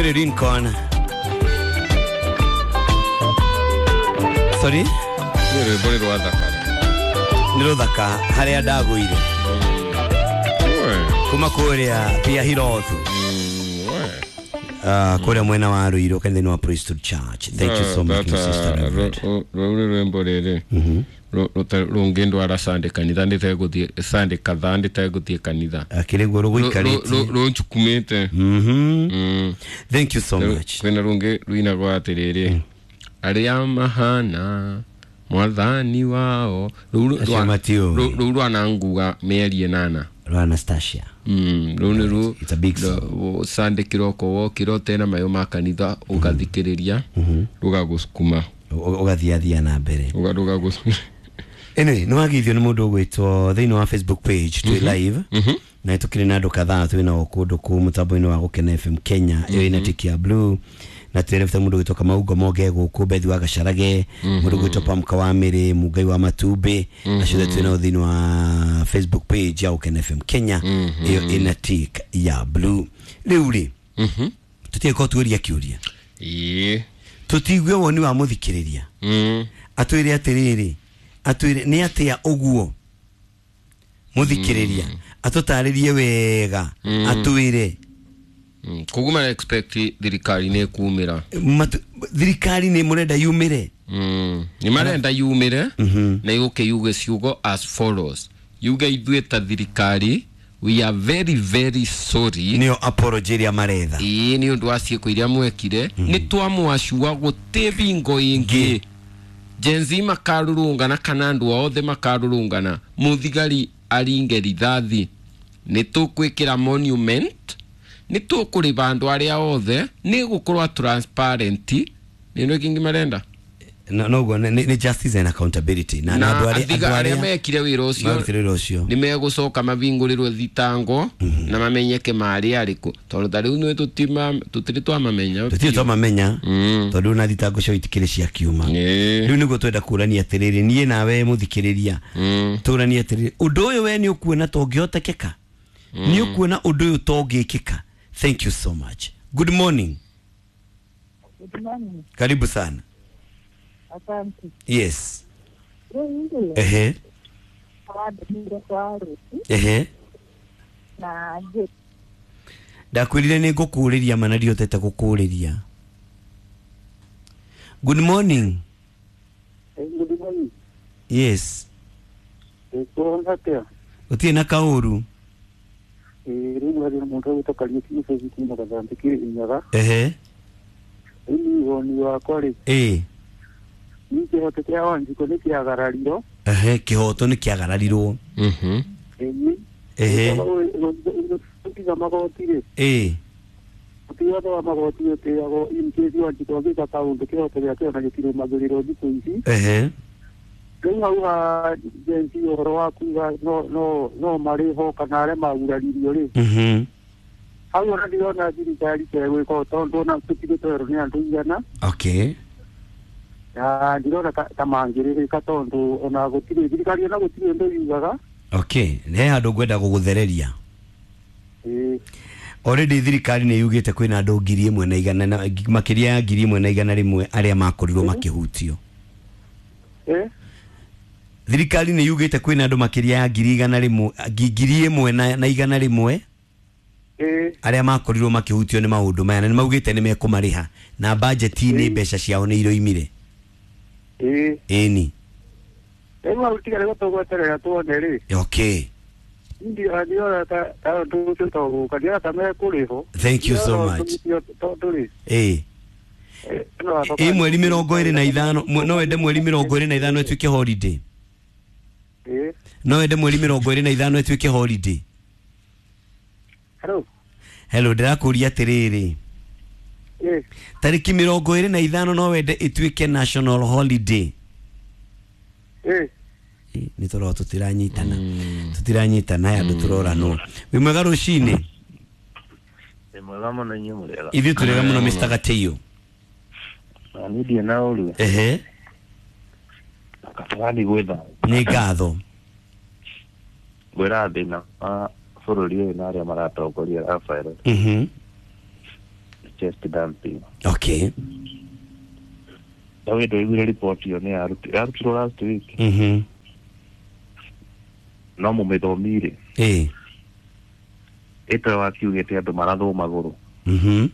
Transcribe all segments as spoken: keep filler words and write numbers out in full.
Mary Lincoln. Sorry? Nĩ rwĩmbo nĩ rwathaka. Nĩ rũthaka harĩa ndagũire. Kuma kũrĩa Pia Hirothu. Uh, kũrĩa mwena wa Ruiru kanitha-inĩ wa Priesthood Church. Thank you so much, my sister Reverend. Rũu nĩ rwĩmbo rĩrĩ rũngĩndwara Sunday kanitha ndĩtegũthiĩ Sunday kadhaa ndĩtegũthiĩ kanitha. Akĩrĩ guo rũgũikarĩtie. Rũnjukumĩte. Mhm. Thank you so much. Kwĩna rũngĩ rũinagwo atĩrĩrĩ, arĩa mahana mwathani wao. Rũu rwananguga mĩeri ĩnana. Rwa Anastasia. Mm, rũu nĩ rũ It's a big song. Sunday kĩroko wokĩra ũtena mayo ma kanitha ũgathikĩrĩria rũgagũcukuma ũgathiathia na mbere. Rũgagũcukuma. Anyway, nĩ wageithio nĩ mũndũ ũgwĩtwo thĩinĩ wa Facebook page twĩ live na tũkĩrĩ na andũ kadhaa twĩ nao kũndũ kũu mũtambo-inĩ wa Gũkena F M Kenya ĩyo ĩna tiki ya blue na twĩrefete mũndũ ũgwĩtwo Kamau Ngomonge gũkũ Bethi wa Gacarage, mũndũ ũgwĩtwo Pamka wa Mĩrĩ, Mungai wa Matumbĩ, acio othe twĩ nao thĩinĩ wa Facebook page ya Gũkena F M Kenya ĩyo ĩna tick ya blue. Rĩu rĩ, tũtiĩko tuũria kĩũria. Ĩĩ. Tũtigue woni wa mũthikĩrĩria. Atwĩre atĩrĩrĩ, atwĩre nĩ atĩa ũguo mũthikĩrĩria atũtarĩrie wega, atwĩre koguo mara expect thirikari nĩ kumĩra. Thirikari nĩ mũrenda yumĩre. Nĩ marenda yumĩre na yũke yuge ciugo as follows. Yuge ithuĩ ta thirikari we are very very sorry. Nĩyo apology ĩrĩa maretha. Ĩĩ nĩ ũndũ wa ciĩko iria mwekire nĩ twamwacua gũtĩ bingo ĩngĩ. Gen Z makarurungana kana andũ othe makarurungana mũthigari aringe rithathi nĩ tũkwĩkĩra monument nĩ tũkũrĩba andũ arĩa othe nĩ gũkorwo transparent. Nĩ nĩ kĩngĩ marenda. No no nĩ justice and accountability na andũ arĩa mekire wĩra ũcio nĩ megũcoka mavingũrĩrwo thitango na mamenyeke marĩ arĩkũ tondũ ta rĩu nĩ tũtirĩ twamamenya. Tũtirĩ twamamenya tondũ na thitango cio itikĩrĩ cia kiuma. Rĩu nĩguo twenda kũrania atĩrĩrĩ niĩ nawe mũthikĩrĩria tũranie atĩrĩrĩ ũndũ ũyũ we nĩ ũkuona tũngĩhotekeka, nĩ ũkuona ũndũ ũyũ tũngĩkĩka. Thank you so much. Good morning. Good morning. Karibu sana. Asante. Yes. Ehe. Ehe. Ndakwĩrire nĩ ngũkũũrĩria mana ndiotete gũkũũrĩria. Good morning. Good morning. Yes. Gũtirĩ na kaũru. Ehe. Ĩĩ. Kĩhoto kĩa Wanjikũ nĩ kĩagararirwo. Ehe, kĩhoto nĩ kĩagararirwo. Mhm. Ehe. Tiga magoti rĩ. Ĩĩ. Tiga wa magoti ũtĩagwo in case Wanjikũ angĩka kaũndũ kĩhoto gĩake ona gĩtirũmagĩrĩrwo thikũ ici. Ehe. Rĩu hau ha Gen Z ũhoro wa kuga no no no marĩho kana arĩa maguraririo rĩ. Mhm. Hau ona ndirona thirikari tegwĩka tondũ ona tũtirĩ twerwo nĩ andũ igana. Okay. Na ndirona ta mangĩrĩrĩka tondũ ona gũtirĩ thirikari ona gũtirĩ ũndũ yugaga. Okay, nĩ handũ ngwenda gũgũthereria. Ĩĩ. Already thirikari nĩ yugĩte kwĩna andũ ngiri ĩmwe na igana na makĩria ya ngiri ĩmwe na igana rĩmwe arĩa makorirwo makĩhutio. Eh? Thirikari nĩ yugĩte kwĩna andũ makĩria ya ngiri igana rĩmwe ngiri ĩmwe na igana rĩmwe eh arĩa makorirwo makĩhutio nĩ maũndũ maya na nĩ maugĩte nĩ mekũmarĩha na budget-inĩ mbeca ciao nĩ iroimire. Ĩĩ. Ĩni. Rĩu hau tiga rĩu tũgweterera tuone rĩ. Okay. Ndirona ta ta ũndũ ũcio togũka ndirona ta mekũrĩhwo. Thank you so much. Tondũ rĩ. Ĩĩ. Ĩ mweri mĩrongo ĩrĩ na ithano no wende mweri mĩrongo ĩrĩ na ithano ĩtuĩke holiday. Ĩĩ. No wende mweri mĩrongo ĩrĩ na ithano ĩtuĩke holiday. Hello. Hello, ndĩrakũria atĩrĩrĩ. Ĩĩ. Tarĩki mĩrongo ĩrĩ na ithano no wende ĩtuĩke national holiday. Ĩĩ. Nĩ tũrora tũtiranyitana. Tũtiranyitana aya andũ tũroranwo. Wĩ mwega rũcinĩ? Wĩ mwega mũno inyuĩ mũrĩega. Ithuĩ tũrĩega mũno Mister Gatĩiyo. Na niĩ ndirĩ na ũru. Ehe. Kabarani gwĩtha. Nĩ ngatho. Ngwĩra thĩna wa bũrũri ũyũ na arĩa maratongoria Rafael. Mhm. Chest dumping. Okay. Na wendo iguire report ĩyo nĩ yaruti- yarutirwo last week. Mhm. No mũmĩthomire. Ĩĩ. Ĩto wakiugĩte andũ marathwo magũrũ. Mhm.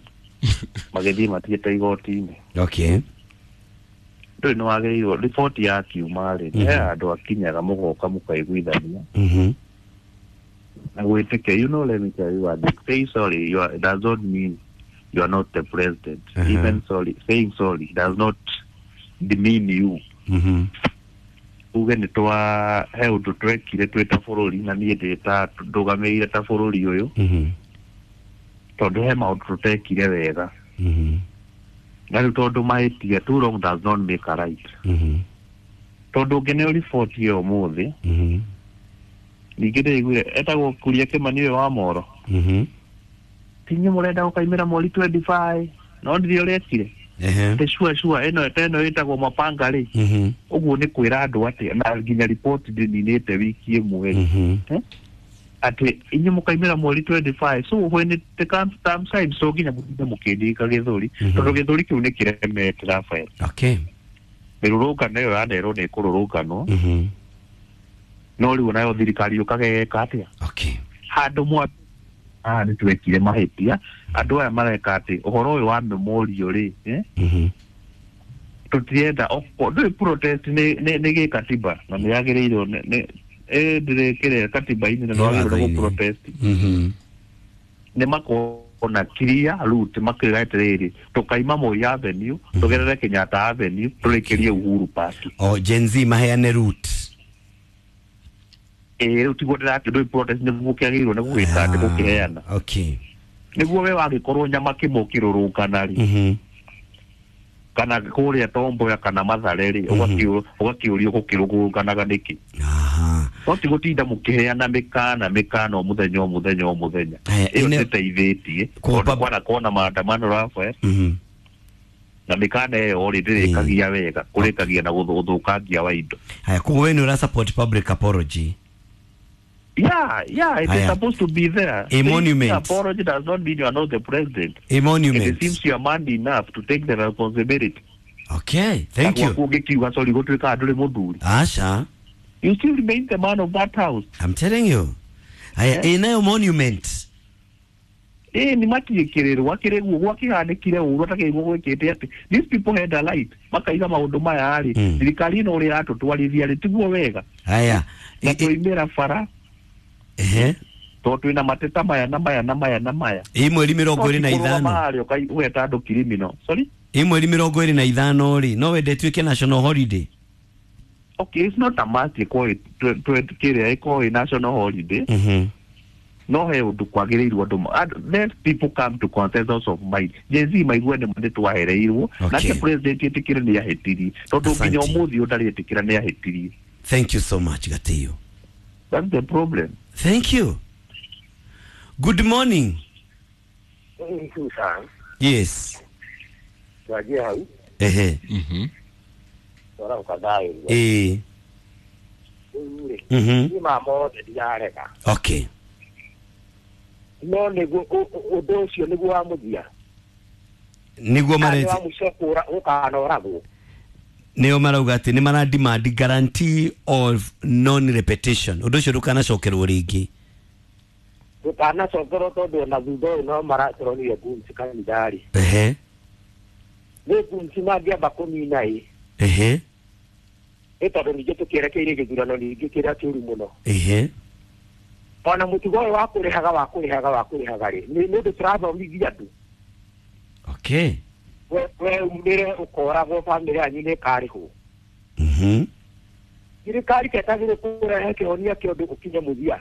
Magĩthiĩ matigĩte igoti-inĩ. Okay. Ndũĩ nĩ wagĩrĩirwo riboti ya kiuma rĩ, Mhm. he andũ akinyaga mũgoka mũkaiguithania Mhm. na gwĩtĩkia. You know, let me tell you what, say sorry you are, does not mean you are not the president. Uh-huh. Even sorry, saying sorry does not demean you. Mhm. Uge nĩ twa he ũndũ twekire twĩ ta bũrũri na niĩ ndĩ ta ndũgamĩrĩire ta bũrũri ũyũ Mhm. tondũ he maũndũ tũtekire wega Mhm. na rĩu tondũ mahĩtia two wrong does not make a right. Mhm. Tondũ ũngĩneo riboti ĩyo ũmũthĩ Mhm. ningĩ ndĩiguire etagwo Kuria Kĩmani ũyũ wa Moro Mhm. tinye mũrenda gũkaimĩra mweri twenty-five no ndirĩ ũrekire Ehe. atĩ sure sure ĩno ta ĩno ĩtagwo mapanga rĩ Mhm. ũguo nĩ kwĩra andũ atĩ na nginya riboti ndĩninĩte wiki ĩmwe rĩ Mhm. atĩ inyuĩ mũkaimĩra mweri twenty-five so when it comes time time so nginya mũtinde mũkĩndĩka gĩthũri Mhm. tondũ gĩthũri kĩu nĩ kĩremete Rafael. Okay. Mĩrũrũngano ĩyo yanerwo nĩ ĩkũrũrũnganwo Mhm. no rĩu nayo thirikari yũkaga ĩgeka atĩa Okay. handũ mwa haha nĩ twekire mahĩtia andũ aya mareka atĩ ũhoro ũyũ wa memorial rĩ eh, Mhm. tũtirenda oko- ndũĩ protest nĩ nĩ nĩ gĩkatiba na nĩ yagĩrĩirwo nĩ nĩ ĩ ndĩrĩkĩre katiba-inĩ na nĩ wagĩrĩirwo nĩ Watho-inĩ. gũ-protest Mhm. nĩ makona clear route makĩra atĩrĩrĩ tũkaima Moi Avenue tũgerere Kenyatta Avenue tũrĩkĩrie Uhuru Park. O Gen Z maheane route. Ĩ rĩu tiguo ndĩrakĩ ndũĩ protest nĩguo kĩagĩrĩirwo nĩ gũgĩka atĩ gũkĩheana Okay. nĩguo we wagĩkorwo nyama kĩmwe ũkĩrũrũngana rĩ Mhm. kana kũrĩa Tomboya kana Mathare rĩ ũgakĩũ- ũgakĩũrio gũkĩrũrũnganaga nĩkĩ Aha. no ti gũtinda mũkĩheana mĩkana mĩkana o mũthenya o mũthenya o mũthenya Aya, ĩyo ine- ndĩteithĩtie Kwa tondũ pub- kwanakorwo na maandamano Rafael Mhm. na mĩkana ĩyo rĩ ndĩrĩkagia wega kũrĩkagia na gũthũ- ũthũkangia wa indo. Haya, koguo we nĩ ũra support public apology. Yeah, yeah, it Aya. is supposed to be there. A monument. Apology does not mean you are not the president. A It monument. seems you are man enough to take the responsibility. Okay, thank you. Gwaku ũngĩkiuga sorry gũtuĩkaga ndũrĩ mũthuri. Asha, You still remain the man of that house. I'm telling you. Haya, Eh? ĩnayo monument. Ĩ nĩ matiĩkĩrĩrwo akĩrĩguo gwakĩhanĩkire ũru atakĩrĩguo gwĩkĩte atĩ these people had a right makaiga maũndũ maya rĩ Mm. thirikari ĩno ũrĩa ĩratũtwarithia rĩ tiguo wega Haya. na I- i- tũimĩra bara Ehe. tondũ twĩna mateta maya na maya na maya na maya Ĩ mweri mĩrongo ĩrĩ na ithano. harĩa ũgeta andũ criminal sorry. Ĩ mweri mĩrongo ĩrĩ na ithano rĩ, no wende ĩtuĩke national holiday. Okay, it's not a must ĩkorwo ĩ- twe- kĩrĩa ĩkorwo ĩ national holiday. Mhm. No he ũndũ kwagĩrĩirwo andũ ma- and let people come to consensus of mind. Gen Z maigue nĩ nĩ twahereirwo Okay. nake president ĩtĩkĩre nĩ ahĩtirie tondũ nginya Asante. ũmũthĩ ũyũ ndarĩtĩkĩra nĩ ahĩtirie. Thank you so much, Gatiyo. That's the problem. Thank you. Good morning. Susan, Yes. twanjie hau Ehe. Mhm. twarauka thayũ Ĩ. rĩu rĩ Mhm. niĩ ma mothe ndirarega Okay. no nĩguo ũ- ũ- ũndũ ũcio nĩguo wa mũthia Nĩguo Kana nĩ mareti wa mũico kũra gũkanoragwo nĩo marauga atĩ nĩ mara demand guarantee of non repetition. Ũndũ ũcio ndũkanacokerwo rĩngĩ. ndũkanacokerwo tondũ ona thutha ũyũ no maratũronire ngumci kanitha-rĩ Ehe. nĩ ngumci mangĩamba kũnina ĩ Ehe. nĩ tondũ ningĩ tũkĩerekeire gĩthurano ningĩ kĩrĩa kĩũru mũno Ehe. ona mũtugo ũyũ wa kũrĩhaga wa kũrĩhaga wa kũrĩhaga rĩ nĩ nĩ ũndũ tũrathomithia andũ Okay. we we umĩre ũkoragwo bamĩrĩ yanyu nĩ ĩkarĩhwo Mhm. thirikari ketagĩrĩ kũrehe kĩhonia kĩa ũndũ ũkinye mũthia.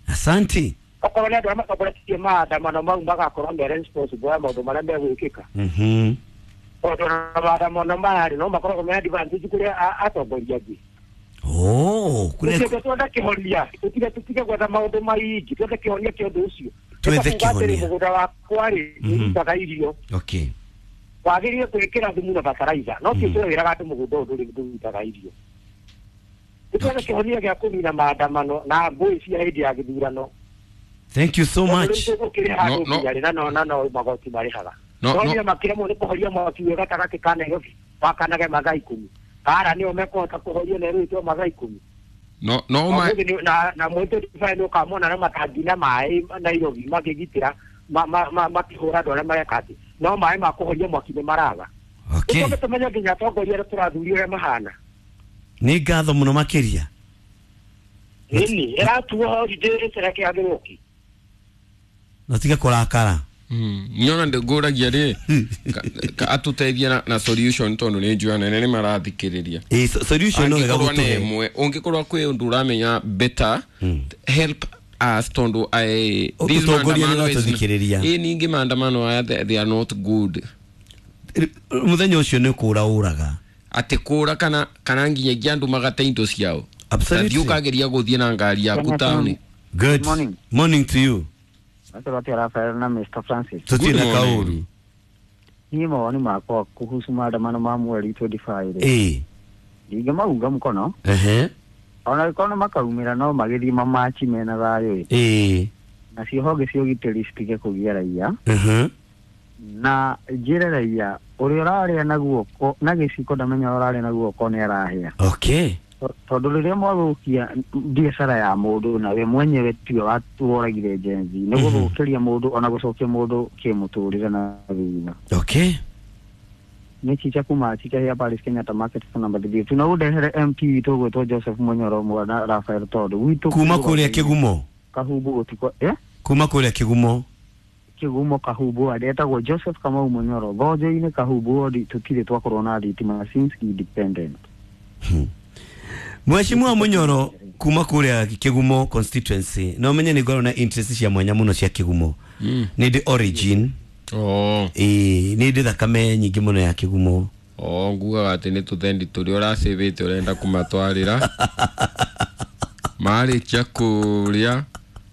Asante. Okorwo nĩ andũ arĩa matongoretie maandamano mau magakorwo me responsible ya maũndũ marĩa megwĩkĩka Mhm. tondũ ona maandamano maya rĩ no makoragwo me advantage kũrĩ a- atongoria angĩ. Oh, kũrĩa Tũtige twende kĩhonia tũtige tũtige gwetha maũndũ maingĩ twethe kĩhonia kĩa ũndũ ũcio. Twethe Nĩ ta kuuga atĩrĩ, kĩhonia. mũgũnda wakwa rĩ Mhm. nĩũrutaga irio Okay. wagĩrĩire gwĩkĩra thumu na bataraitha no ti ũcio wĩraga atĩ mũgũnda ũyũ ndũrĩ ndũrutaga irio. Nĩtwethe kĩhonia gĩa kũnina maandamano na ngũĩ cia hĩndĩ ya gĩthurano. Thank you so much. Tondũ rĩu tũgũkĩrĩ handũ No, no. nginya rĩ na no na no magoti marĩhaga. No no nĩ makĩremwo nĩ kũhoria mwaki wĩ gatagatĩ ka Nairobi wakanage mathaa ikũmi bara nĩo mekũhota kũhoria Nairobi to mathaa ikũmi no no ma na na mweri twenty-five nĩ ũkamona na matangi na maĩ Nairobi makĩgitĩra makĩhũra andũ arĩa mareka atĩ no maĩ ma kũhoria mwaki nĩ maraga. Okay. Tũcoke tũmenye nginya atongoria arĩa tũrathuria ũrĩa mahana. Nĩ ngatho mũno makĩria. Ĩni ĩratuo holiday ĩcerekeagĩrwo kĩ na tiga kũrakara. Mm. Nyona ndĩngũragia rĩ atũteithie na, na solution tondũ nĩ njũĩ anene nĩ marathikĩrĩria. Ĩ solution no wega gũtũhe ĩmwe ũngĩkorwo kwĩ ũndũ ũramenya better mm. help us tondũ these maandamano ĩ ningĩ maandamano aya they, they are not good. Mũthenya ũcio nĩ kũra ũraga atĩ kũra kana kana nginyagia andũ magate indo ciao. Absolutely. Ũkageria gũthiĩ na ngari yaku taũni. Good morning. Morning to you. Atĩ Rafael na Mister Francis. Tutirĩ na kaũru. Niĩ mawoni makwa kuhusu maandamano ma mweri twenty-five rĩ. Ĩĩ. Ndingĩmaunga mũkono. Ehe. Ona gĩkorwo makaumĩra no magĩthiĩ mamachi mena thayũ ĩ. Ĩĩ. Nacio honge cia ũgitĩri citige kũgia raia. Mhm. Na njĩre raia ũrĩa ũrarĩa na guoko na gĩciko ndamenya ũrarĩa na guoko nĩ arahĩa. Okay. Tondũ rĩrĩa mwathũkia biacara ya mũndũ na we mwenyewe tiwe woragire Gen Z nĩ gũthũkĩria mũndũ ona gũcokia mũndũ kĩmũtũrĩre na thutha. Okay. Nĩ chicha kuma chicha ya Paris Kenyatta Market number three tunaũndehere M P witũ ũgwĩtwo Joseph Munyoro mwana Rafael tondũ gwitũ kuma kũrĩa Kĩgumo Kahumbu gũtikwa eh kuma kũrĩa Kĩgumo Kĩgumo Kahumbu adetagwo Joseph Kamau Munyoro thonjo-inĩ Kahumbu ward tũtirĩ twakorwo na thitima since independent. Hmm. Mheshimiwa Munyoro kuma kuria Kigumo constituency no menye ni ngorwo na interest cia mwanya muno cia Kigumo. Mm. Ni the origin. Oh. Eh ni ndi thakame nyingi muno ya Kigumo. Oh ngugaga ati ni tuthendi turi uracivite urenda kumatwarira. Marikia kuria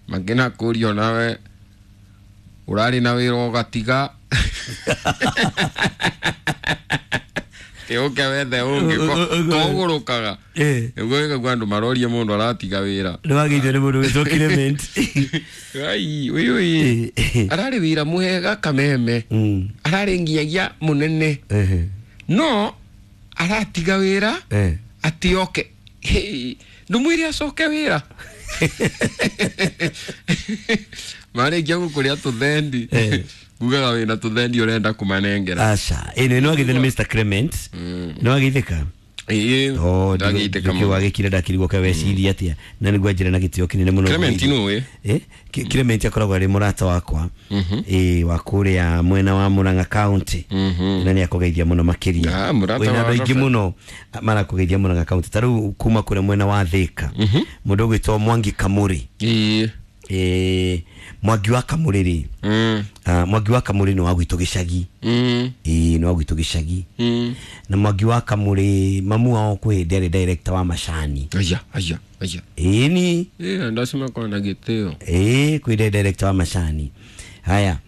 mangina kurio nawe urari na wira ugatiga. Uke wethe ungi kogurukaga niguo ikaigua andu marorie mundu aratiga wira ni wageithio ni mundu witwo Clement. Ai uyu arari wira mwega kameme arari nginyagia munene no aratiga wira ati oke ndumwire acoke wira marikia gukuria tuthendi ngugaga wina tuthendi urenda kumanengera. Aca ĩno no agithĩ nĩ Mister Clement no agithĩka ĩĩ oh ndagithĩka mũno wagĩkire ndakirigwo ka weciria atia na nĩguo njĩra na gĩtĩo kĩnene mũno Clement nũĩ eh Clement akoragwo arĩ mũrata wakwa ĩĩ wa kũrĩa mwena wa Murang'a County na nĩ akũgeithia mũno makĩria wĩna andũ aingĩ mũno marakũgeithia Murang'a County ta rĩu kuma kũrĩa mwena wa Thika mũndũ ũgwĩtwo Mwangi Kamuri ĩĩ eh Mwangi wa Kamuri ri mm uh, Mwangi wa Kamuri ni wa gwitũ gĩcagi mm ĩĩ nĩ wa gwitũ gĩcagi mm na Mwangi wa Kamuri mamu wao kwĩ hĩndĩ arĩ director wa macani. Aya aya aya ĩĩ ni ĩĩ ndacima kwa na gĩtĩo ĩĩ kwĩ hĩndĩ director wa macani. Haya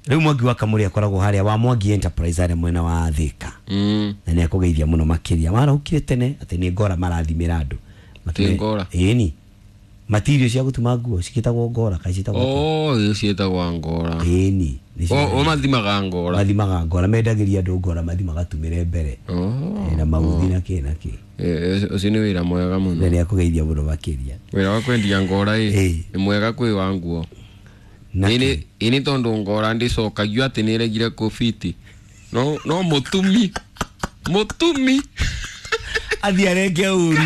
rĩu Mwangi wa Kamuri akoragwo harĩa wa Mwangi Enterprise harĩa mwena wa Thika mm na nĩ akũgeithia mũno makĩria warahukire tene atĩ nĩ ngora marathimĩra andũ Ti ngora ĩĩ ni matirio cia gutuma nguo cikitagwo ngora kai citagwo oh iyo cietagwo ngora ĩni o mathimaga ngora mathimaga ngora mendagiria andu ngora mathi magatumire mbere oh na mauthi na ki na ki eh ucio ni wira mwega muno na ni akugeithia muno makiria wira wa kwendia ngora ĩ ni mwega kwi wa nguo ini ini tondu ngora ndicokagio ati niregire kufiti no no mutumi mutumi athi arenge uru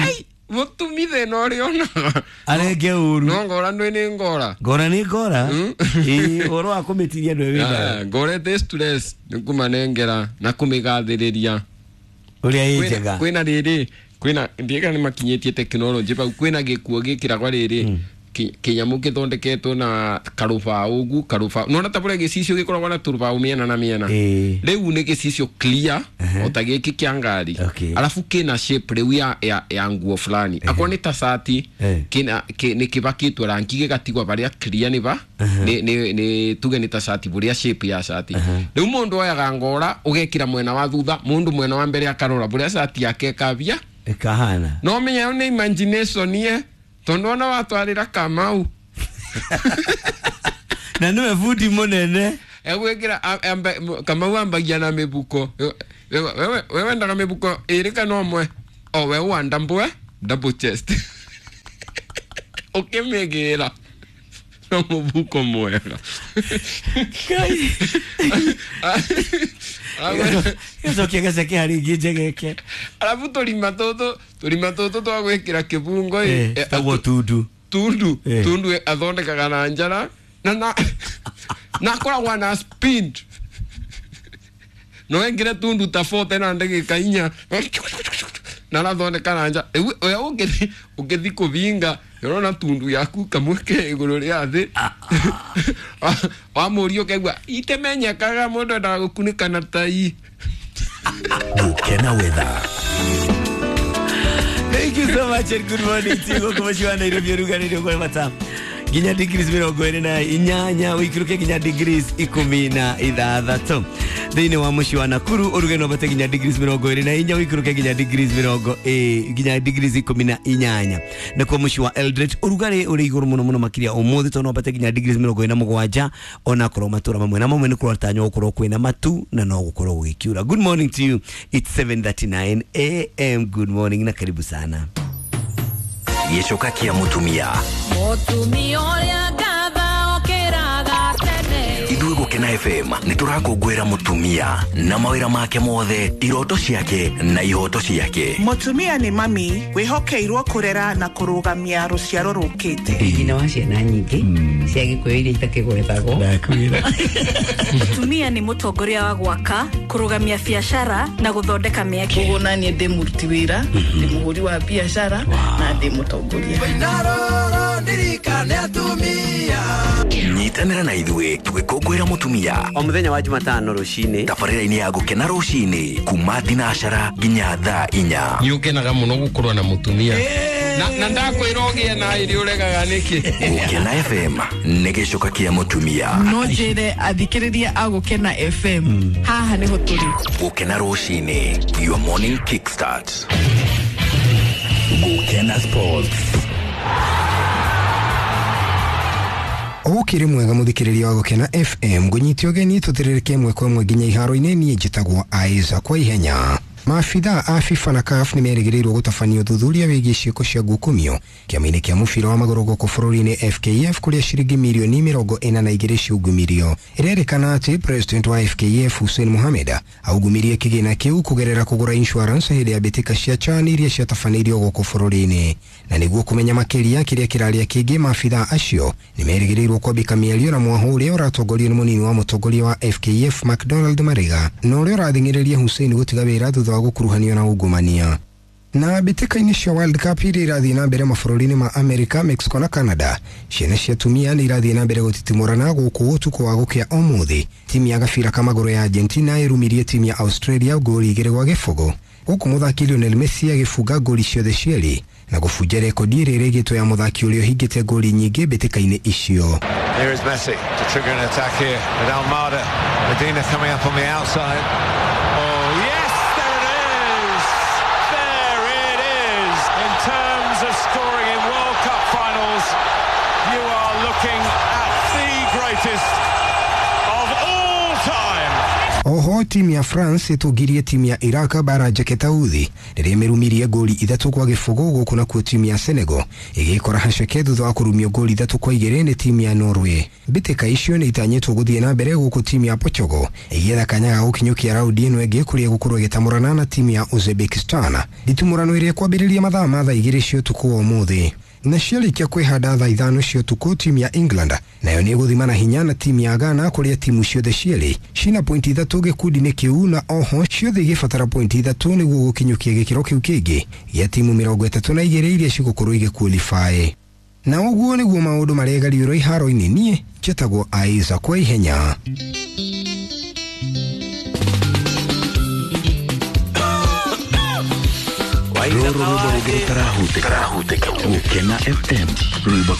mutumi thina uria onaga arenge uru no ngora ndwi ni ngora ngora ni ngora ĩ ũhoro wa kũmĩtiria ndwe wĩnayo ngora ĩtĩ stress nĩ kũmanengera na kũmĩgathĩrĩria ũrĩa ĩ njega kwĩna rĩrĩ kwĩna ndiĩka nĩ makinyĩtie tekinoronjĩ bau kwĩna gĩkuo gĩkĩragwa rĩrĩ kĩnyamũ gĩthondeketwo na karũbaũ ũguo karũbaũ nona ta bũrĩa gĩcicio gĩkoragwo na tũrũbaũ mĩena na mĩena rĩu nĩ gĩcicio clear o ta gĩkĩ kĩa ngari arabu kĩna shape rĩu ya, ya, ya nguo fulani akorwo nĩ ta cati kĩna nĩ kĩbakĩtwo rangi gĩgatigwo barĩa clear nĩ ba nĩ nĩ nĩ tuge nĩ ta cati bũrĩa shape ya cati rĩu mũndũ oyaga ngora ũgekĩra mwena wa thutha mũndũ mwena wa mbere akarora bũrĩa cati yake ĩkabia ĩkahana no menya nĩ imagination ye tondu ona watwarira Kamau na niwe bundi munene Egwikira Kamau ambagia na mibuko. Wewe wewe wendaga mibuko iri kana umwe? O we wanda mbwe double chest. Ukimigira no mubuko mwega. Gacokia gaceke harĩ ingĩ njegeke. Arabu tũrima tũtũ tũrima tũtũ twa gwĩkĩra kĩbungo ĩ tagwo tundu tundu tundu athondekaga na njara na na na akoragwo na speed no engire tundu ta forty na ndagĩka inya na arathondeka na njara. Rĩu we ũngĩthi ũngĩthi kũbinga ũrona tundu yaku kamwe ke igũrũ rĩa thĩ wamũria ũkaigua itemenyekaga mũndũ endaga gũkunĩka na tai. Gukena weather. Thank you so much and good morning to you. Gũkũ Nairobi ũrugarĩ ũgwe mata nginya degrees mĩrongo ĩrĩ na inyanya ũikũrũke nginya degrees ikũmi na ithathatũ. Thĩinĩ wa mũciĩ wa Nakuru ũrugarĩ no wambate nginya degrees mĩrongo ĩrĩ na inya ũikũrũke nginya degrees mĩrongo ĩ nginya degrees ikũmi na inyanya. Nakuo mũciĩ wa Eldoret ũrugarĩ ũrĩ igũrũ mũno mũno makĩria ũmũthĩ tondũ no wambate nginya degrees mĩrongo ĩna na mũgwanja ona korwo matũra mamwe na mamwe nĩ kũratanywo gũkorwo kwĩna matu na no gũkorwo gũgĩkiura. Good morning to you. It's seven thirty-nine A M. Good morning na karibu sana. Gĩcoka kĩa mũtumia mũtumia ũrĩa ngatha okĩraga tene. Ithuĩ Gũkena F M nĩ tũrakũngũĩra mũtumia na mawĩra make mothe, iroto ciake na ihoto ciake. Mũtumia nĩ mami wĩhokeirwo kũrera na kũrũgamia rũciaro rũkĩte. Nyina wa ciana nyingĩ cia Gĩkũyũ iria itakĩgwetagwo. Mũtumia nĩ mũtongoria wa gwaka, kũrũgamia biacara na gũthondeka mĩeke. Koguo naniĩ ndĩ mũruti wĩra, ndĩ mũhũri wa biacara na ndĩ mũtongoria. Nyitanĩra na ithuĩ tũgĩkũngũĩra mũtumia o mũthenya wa Jumatano rũcinĩ tabarĩra-inĩ ya Gũkena rũcinĩ kuma thinacara nginya thaa inya. Nĩ ũkenaga mũno gũkorwo na mũtumia na na ndakwĩra ũgĩe na ĩrĩ ũregaga nĩkĩ. Gũkena F M nĩ gĩcoka kĩa mũtumia. No njĩre athikĩrĩria a Gũkena F M haha nĩho tũrĩ. Gũkena rũcinĩ, your morning kickstart. Gũkena Sports. Ũkĩrĩ mwega mũthikĩrĩria wa Gũkena F M ngũnyite ũgeni tũtĩrĩrĩke ĩmwe kwa ĩmwe nginya iharo-inĩ. Niĩ njĩtagwo Aiza kwa ihenya. Maabithaa a FIFA na C A F nĩmerĩgĩrĩirwo gũtabania ũthuthuria wĩgiĩ ciĩko cia ngukumio kĩama-inĩ kĩa mũbira wa magũrũ gũkũ bũrũri-inĩ F K F kũrĩa ciringi mirioni mĩrongo ĩna na igĩrĩ ciungumirio. Ĩrerĩkana atĩ president wa F K F Hussein Mohamed aungumirie kĩgĩna kĩu kũgerera kũgũra insurance hĩndĩ ya mbĩtĩka cia CHAN iria ciatabanĩirio gũkũ bũrũri-inĩ. Na nĩguo kũmenya makĩria kĩrĩa kĩrarĩa kĩngĩ, maabithaa acio nĩmerĩgĩrĩirwo kwambĩka mĩario na mwahũ ũrĩa ũratongorio nĩ mũnini wa mũtongoria wa F K F McDonald Mariga na ũrĩa ũrathing'ĩrĩria Hussein gũtiga wĩra thutha wa gũkuruhanio na ungumania. Na mbĩtĩka-inĩ cia World Cup iria irathiĩ na mbere mabũrũri-inĩ ma America, Mexico na Canada, ciana cia atumia nĩ irathiĩ na mbere gũtitimũrana gũkũ ũtukũ wa gũkĩa ũmũthĩ. Timu ya gabira ka magũrũ ya Argentina ĩrumirie timu ya Australia ngoli igĩrĩ gwa gĩbũgũ, gũkũ mũthaki Lionel Messi agĩbunga ngoli ciothe cierĩ na gũbunja rekondi ĩrĩa ĩrĩgĩtwo ya mũthaki ũrĩa ũhingĩte ngoli nyingĩ mbĩtĩka-inĩ icio. Here is Messi to trigger an attack here with Almada. Medina coming up on the outside. Oh yes, there it is. There it is. In terms of scoring in World Cup finals, you are looking at the greatest of all time. Oho timu ya France ĩtũngirie timu ya Iraq bara njeke tauthi rĩrĩa ĩmĩrumirie ngoli ithatũ kwa gĩbũgũ, gũkũ nakuo timu ya Senegal ĩgĩkora haceke thutha wa kũrumio ngoli ithatũ kwa igĩrĩ nĩ timu ya Norway. Mbĩtĩka icio nĩ itanyĩtwo gũthiĩ na mbere gũkũ timu ya Portugal ĩgĩetha kanya ga gũkinyũkia raundi ĩno ĩngĩ kũrĩa ĩgũkorwo ĩgĩtamũrana na timu ya Uzbekistan. Nditimũrano ĩrĩa ĩkwambĩrĩria mathaa ma thaa igĩrĩ cia ũtukũ wa ũmũthĩ. Na ciarĩkia kwĩhanda thaa ithano cia ũtukũ, timu ya England nayo nĩ ĩgũthima na hinya na timu ya Ghana kũrĩa timu ciothe cierĩ cina pointi ithatũ gĩkundi-inĩ kĩu na oho ciothe igĩbatara pointi ithatũ nĩguo gũkinyũkia gĩkĩro kĩu kĩngĩ gĩa timu mĩrongo ĩtatũ na igĩrĩ iria cigũkorwo igĩqualify. Na ũguo nĩguo maũndũ maregariũrwo iharo-inĩ. Niĩ njĩtagwo Aiza kwa ihenya. Rũrũ rwĩmbo rũngĩ rũtarahutĩka. Gũkena F M rwĩmbo.